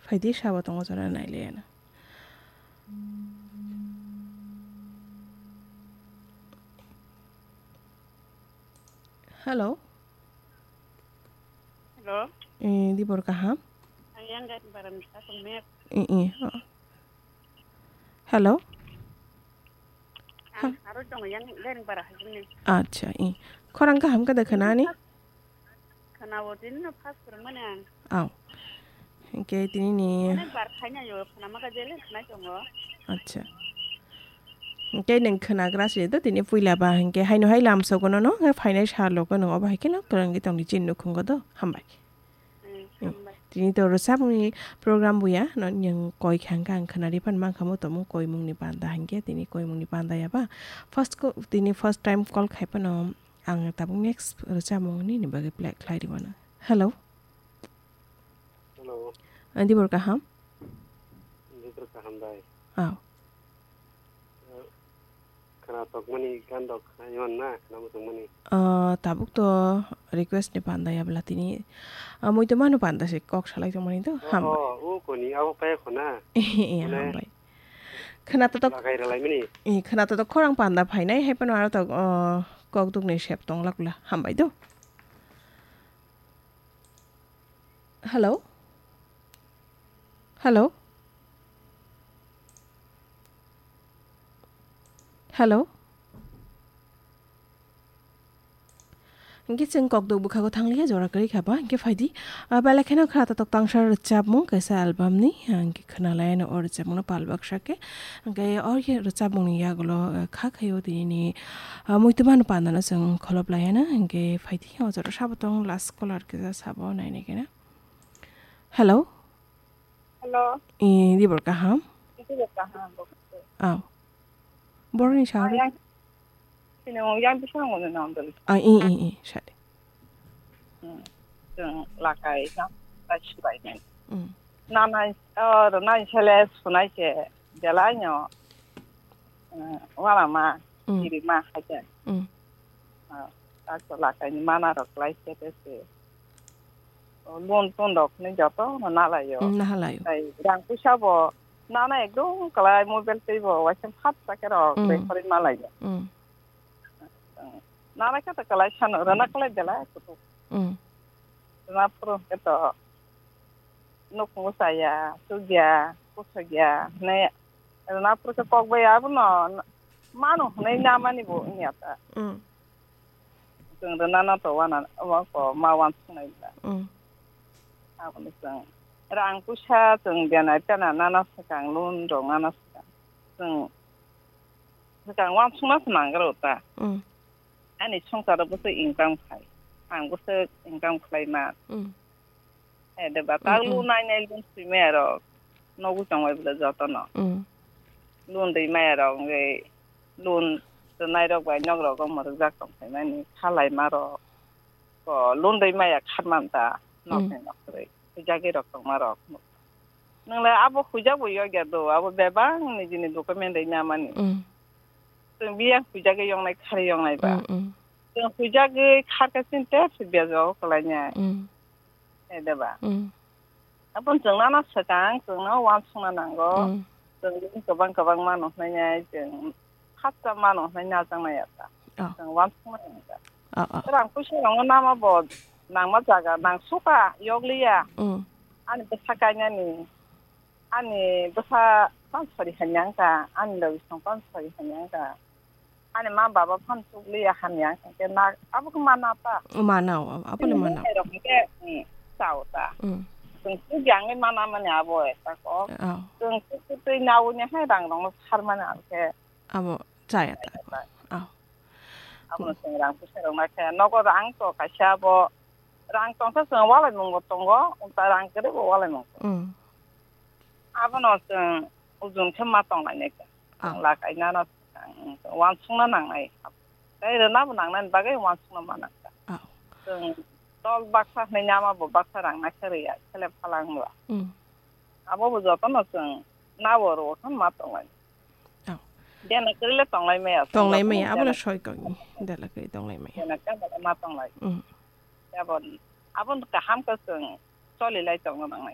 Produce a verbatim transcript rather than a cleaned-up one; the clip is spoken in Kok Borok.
Phaidi sabo tongo jora nailaiano. Hello. Hello. Eh, dibor kaham? Ayang gari baram sa tumir. Eh, eh, oh. Hello. Ang aro tongo yang leng bara hajimni. Acha, i. Khorang kaham kada khanani? Khana o din no phas kurmani ang. Aw. Hingke tini ni. Onek bar khaina yo khana maka jele khana tongo. Acha. Hingke neng khana gra se do tini puila ba hingke haino hai lam sogono no nge phainai sa logo no obo hai khe no kwrwngwi tongni chin nukhungo do. Hambai. Mm, hambai. Tini to rwchapmungni program buya, no, yang koi kha hwnkhe ang khwnari phan mankha mo tongmung koimungni panda hinkhe, tini koimungni panda yaba. First ko, tini first time call khai phano ang tabuk next rwchapmung nini bagwi play khlai rwmano. Hello. Hello. Ah, dibor kaham? Dibor kaham bai. Aw. Khwna tokmani gan rok khwna mani na, khwna muchungmani. Ah, tabuk to request ni panda ya bwla tini, ah, muitu manu panda se kok salai tongmani to, hambai. Oh, oh, o koni, abo kaya khwna. Eh, mane hambai. Khwna to tok-, lagai rwlaimani. Eh, khwna to tok khorang panda phainai, hai phano aro to, ah, kok dukni sep tong lakula, hambai do. Hello? Hello? Hello? Hingke chwng kokduk bwkhago thangliya jora kwrwi kha ba, hingke phaidi, ah, belai kheno khwna totok tangsa rwchapmung kaisa album ni, ah, hingke khwnalaiano o rwchapmungno pal baksa khe, hingke o rwchapmungni yagulo, ah, kha khaio tini ni, ah, muitu manu pandano chwng kholop laiya na, hingke phaidi o jora sabo tong last caller kisa sabo nainai khe na. Hello? Hello. Eh, dibor kaham? Dibor kaham, bo. Aw. Borni Ah, sahari? Yang, sini yang bisa ngono nang dulu. Ah, i, i, i, sari. Hmm. Jeng lakai na, lachi bai nai. Hmm. Nanai, oh, nanai sele sunai se, belai nyo. Hmm, wala ma, Hmm. iri ma haja. Hmm. Ah, tak to lakai ni mana rok lai se te se. Lun tun rok ni joto no nalaio. Mm, nahalaio. Tai rang puisa bo nana ekdom kalai mobile tei bo waisa phat sakhe rok Mm. Rekhorwi malaio. Mm. Nana khe to kalai sano rana kalai belai kutu. Mm. Rana phuru khe to nuk musa ya, sugya, kusugya, ne rana phuru khe kok bai abono manu hwnwi namani bo wngya ta. Mm. Chwng rwnano to wana, omo ko ma uansuknai bwla. Mm. Aboni chwng rang puisa chwng benai tena nana swkang loan rok nana swkang. Chwng swkang uansukna se nangro ta. Mm. Ani swngcharo bwswk income khai. Ang bwswk income khlaima. Mm. Hai de ba, tak Mm, mm. Loan nai nai loan swi maya rok. Nogo tong bai bwla joto no. Mm. Loan rwi maya rok, wngwi loan rwnai rok bai nok rok omo rwjak tong phaimani, khalai ma rok. Ko loan rwi maya kharman ta, nok Mm. ni nok rwi. Hujagwi rok tongma rok. Nwng le abo hujak bo yogya do, abo bebak nijini document rwi namani. Mm. Chwng biyang hujagwi yongnai, khari yongnai ba. Mm, mm. Chwng hujagwi kharkha chini tepsi bejao kwlainai. Mm. Hai de ba? Mm. Aboni chwng nana swkang, chwngno uansukna nango. Mm. Chwng bini kwbang kwbang mano hwnwi nai chwng khatsa mano hwnwi najaknai ya ta. Oh. Chwng uansukna nangkha. Oh, oh. Rang puisa rokno nama bo nangma jaga nang suka yokliya. Mm. Ani bwsa kainani, ani bwsa pansari hanyang ka, ani logi song pansari hanyang ka. Ani ma baba phano chukliya hamya, hwnkhe na abo khe mana ta. Mana o, abo le mana. Hai rok hwnkhe, mm, chao ta. Mm. Chwng chukya wngwi mana mani abo ekta kok. Oh. Chwng chuk chuk twi nawi ni hai rang rokno sar mani abo khe. Abo chaya ta. Chaya ta. Oh. Abono chwng rang puisa rok na khe nogo rang to kaisa abo rang tongsa chwng walai mungo tongo, ta rang kwrwi bo walai mungo. Mm. Abono chwng ujun khe ma tonglainai kha. Ah. Chwng lakai nano swkang, uansukna nangnai. Tei rwna bo nangnani bagwi uansukna ma nangkha. Ah. Chwng tol baksa hwnwi nama bo baksa rang naikhe rwya, selep phalang ba. Mm. Abo bo jotono chwng nabo rwo khe ma tonglai. Ah. Dela kwrwi le tonglai maya, tonglai maya, abo le soi kok. Dela kwrwi tonglai maya. Dela kwrwi ma tonglai. Mm. Abo, abo kaham khe chwng choli lai tongna nangnai.